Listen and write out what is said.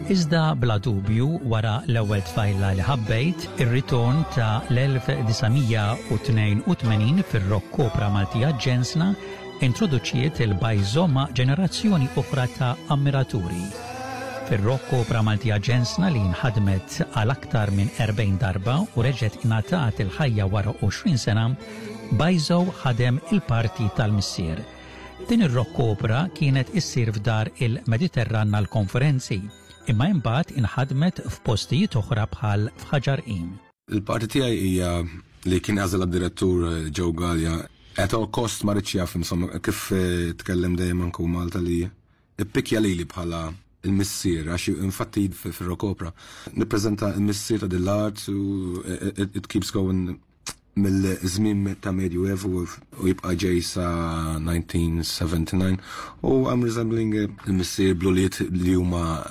Iżda bla dubju wara l-ewwel tfajla li ħabbejt, ir-ritorn ta' l-1982 fir-rock opera Maltija Ġensna introduċiet il-Bajzo ma' ġenerazzjoni oħra ta' ammiraturi. Fir-rock opera Maltija Ġensna li nħadmet għal aktar minn 40 darba u reġgħet ingħatat il-ħajja wara 20 sena, Bajzo ħadem il-parti tal-missier. Din ir-rock opera kienet issir f'dar il-Mediterran għall-konferenzi, imma imbagħad inħadmet f'postijiet oħra bħal f'Ħaġar Qim. Il-parti tiegħi hija li kien għażel direttur Joe Gallia. At all cost ma ridx jaf, insomma, kif tkellem dejjem anke Malta li ippikja lili bħala il-missier, għax infatti fil-rock opera nippreżenta il-missier ta' dil-art u it keeps going mill-żmien ta' Medjuevu u jibqa' ġej sa 1979 u I'm resembling il-missier bl-ulied li huma.